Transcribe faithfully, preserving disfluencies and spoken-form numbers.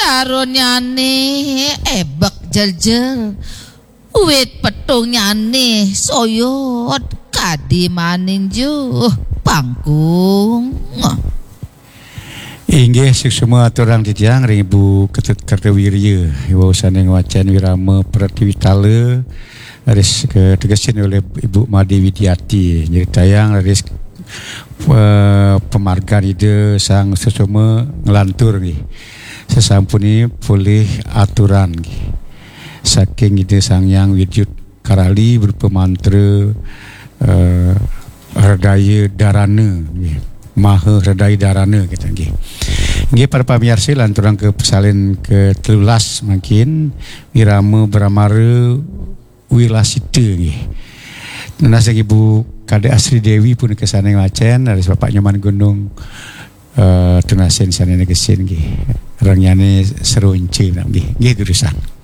Arunnyane ebek jeljel. Wit petungnyane soyot kadi maninjuh pangkung. Inggih, suksma aturang titiang ring Ibu Ketut Kartawirya, iwau sane ngwacen Wirama Pratiwitala, raris kategesin olih Ibu Made Widiati, nyritayang raris, eh, pamargan Ida Sang Susuma nglantur nggih. Sasampune polih aturan nggih. Saking Ida Sang Hyang Widyut Karali berupa mantra, eh, Hredaya Darana nggih. Maha Hredaya Darana kita nggih. Nggih, para pamiarsa, lanturang ka pasalin ka telulas mangkin, Wirama Bramara Wilasita nggih. Nunas Ibu Kadek Asri Dewi punika sane ngwacen, raris Bapak Nyoman Gunung, eh, tunasin sane negesin nggih. Rengnyane Seronca nggih. Nggih, durusang.